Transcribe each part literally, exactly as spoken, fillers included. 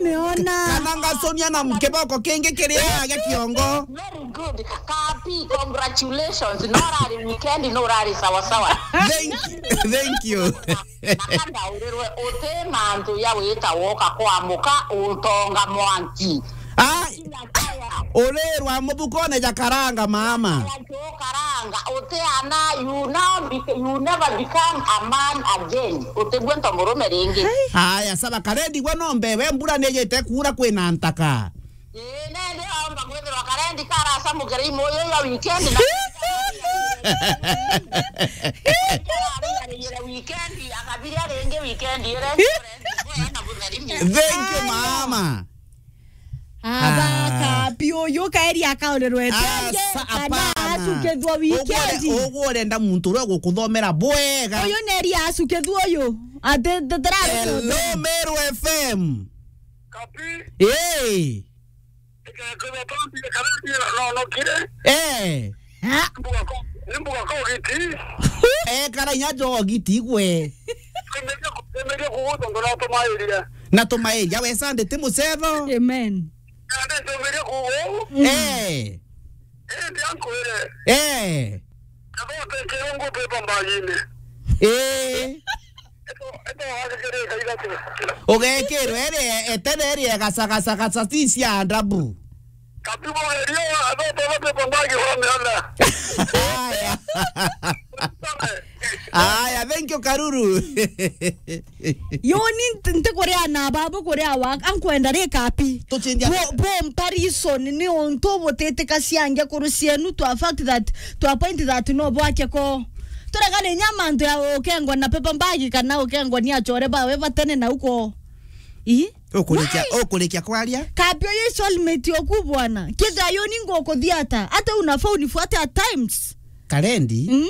Niona. Kana ngaconia na kiboko kingi kiria gia kiongo. Very good. Kapi, congratulations. No urari weekend, no urari sawa sawa. Thank, thank you. Na kanda urirwe uti mantu ya wita woka kwa muka utonga mwanki. Ah, urirwa muthukone ja karanga mama. Karanga, uti ana, you now bec-, you never become a man again. Utigwe nto murume ringi. Haya, saba karendi gwe nombe, we mbura ni yite kuura kwina ntaka. Ii, nende aomba kwithirwa karendi karacamukira imuyu ya weekend na weekend, akabiria ringi weekend ire na butheri. Thank you, mama. Aba, ah, kapi uyu kaeri akaurerwe tenge, asa, kana apana. Acukithua weekend. Ugu ure-, ugu urenda muntu uria ugukuthomera bwega. Uyu neri acukithua uyu. Ati, ati, ati, hello, Meru F M. Kapi. Hey. Ika, ika, ika, ika, ika, ika, no, no, kire. Eh. Ha? Mbuga ko, ni mbuga ko giti. Eh, kara inya jo giti gwe. Temeria ku-, temeria kugutonga na tumairia. Na tumairia, we Sunday ti mucetho. Amen. Nandi ntumirie kuuga uu. Mm. Eh. Indi ankwire. Eh. Kabote kirungu pepa mbagine. Eh. Eto, eto wagikirika ithatu. Ugekirwe iri etene iri egacagacagaca ti cia ndabu. Katibu gerio, athete bate pambagi wa mianda. Haya. Haya, thank you, Karuru. Yo, ni nt-, ntikuria na babu kuria wa, ankwenda ri kapi. Tuchindia. Bo, bo mparison ni untu butitikacia ngekuru cienu to a fact that, to a point that no bwake ko. Turegane nya mantu ya ukengwa na paper bag kana ukengwa ni achore bawe batene na uko. Ii? Ukurikia, why? Ukurikia kwaria? Kapi uyu soulmate oku bwana. Kithira yo ni ngukuthia ata? Ata unafaa unifuate at times. Karendi? Mm?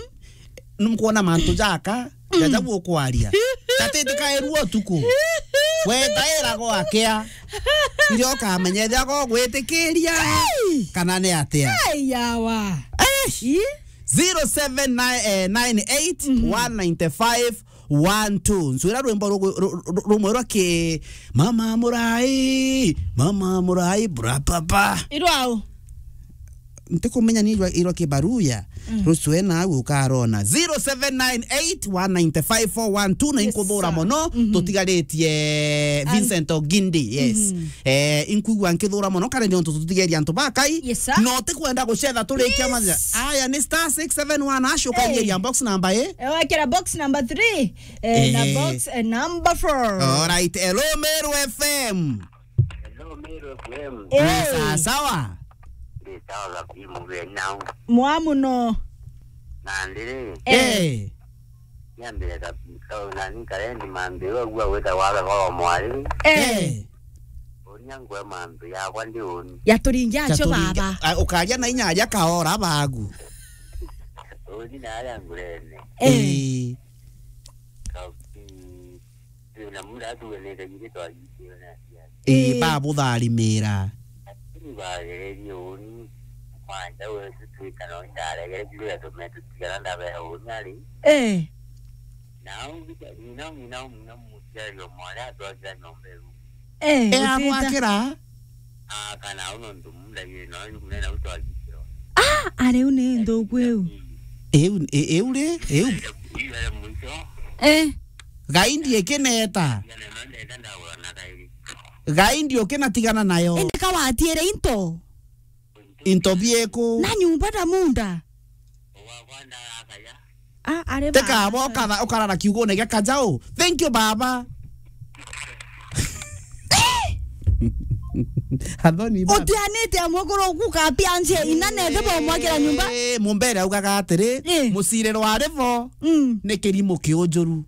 Numkwona mantu jaka, mm, jaja gukwaria. Katiti kairua utuku. Wetaira gwakea. Ndio kamenya ethira gogwitikiria, hey, kana ni atia. Hey, yawa. Eh! Ii? Zero seven nine, eh, nine eight, one nine five, one two. Ncwira rwimbo rugu-, ru-, ru-, rumwe rwa ki Mama Murai, Mama Murai, bra papa. Irwao. Ntikumenya ni irwa, irwa kibaruya. Mm. Rucwe na au ukarona. Zero seven nine eight one nine five four one two, na, yes, inkuthura sir, mono, mhm, tutigaritie, an- Vincent Ogindi, yes. Mhm. Eh, inkwigua nkithura mono, kare ni untu tutigeria antu ba Kai. Yes, sir. No tikwenda gucetha turikia, please, mathira. Aya ni star six seven one hash, ukaigeria, eh, box number, eh? Eh, wakira box number three, eh, na, eh, box, eh, number four. All right, hello, Meru F M. Hello, Meru F M. Eh. Ni sawa sawa? Ni sawa kabisa, mugeni nao. Mwa muno. Na ndiri. Eh. Eh. Niambire kabisa, nani karendi mambi, we gua gwita waga kwa mwari. Eh. Eh. Uria ngwe mambi yakwa ndi uni. Yaturingia acio baba. Ah, ukaria na inya aria kaora bagu. Uni na aria ngurene. Eh. Eh. Kabi. Ii, na muda atuganite githitwa agitio na aciari. Ii, ii, babutharimira. Lakini bagererie uni, mwanja wetu twita no ndaregere kuria tume tutigana ndabea uni ari. Eh. Na au ngita, ng'ina, ng'ina, ng'ina muciari o mwari atwakira nyomba iu. Eh, eh, utita. Agwakira? Ah, kana au nontu muda yiri no, ni kunena utwagikirwa. Ah, ari u ni nthuku iu. Iu, i-, iu ri, iu. Iu ari mwisho. Eh. Gai ndiekineta. Gai ndiukinatigana nayo. Indi ka watiire into? Into bieku? Na nyumba na munda? Ah, are. Teka baba. Abo ukara-, ukarara kiugone gia kajau. Thank you, baba. Athoni baba. Utianite amwe kuru ku kapi anjie ina nethe bo mwakira nyumba. Eh, mumbere augaga atiri, eh, muciriro ari bo, mm, ni kirimu kiunjuru.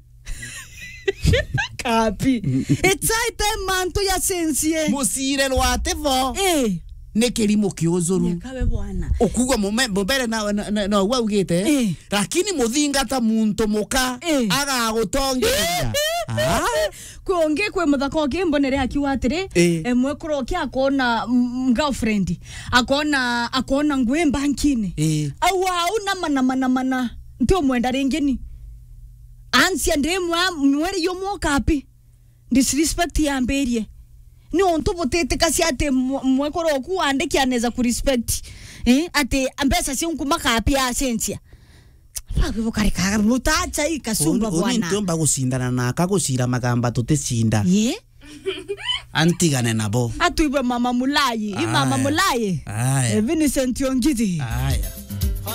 Kapi. It's high time mantu ya sensie. Muciriro ati bo. Eh. Ni kirimu kiunjuru. Nyakawe bwana. Ukugwa mume-, mumbere na, na, na, na ugwa ugite. Eh. Lakini muthingata muntu muka, eh, agagutongeria. Ah? Kwi ungi kwi muthaka ungi mbonere akiuga atiri, eh, emwe kuro kia akona, mm, girlfriend. Akona, akona ngui mbankini. Eh. Au, au, na mana, mana, mana. Nti umwenda ringi ni. Ansia ndimwa mweri yumwe ukapi. Disrespect yambirie. Ni untu butitikacia ati mwe-, mwekuru oku wandiki anaweza ku respect. Eh, ati mbeca ciu nkumakapia acenjia. Babi bukarikaga butacha i kasumba. Uni, uni bwana. Ntiumba gucindana naka gucira magamba tuticinda. Ye? Antigane nabo. Atuibe mama Mulai. I mama Aya. Mulai. Aya. Eh, Vincent Ongidi. Aya.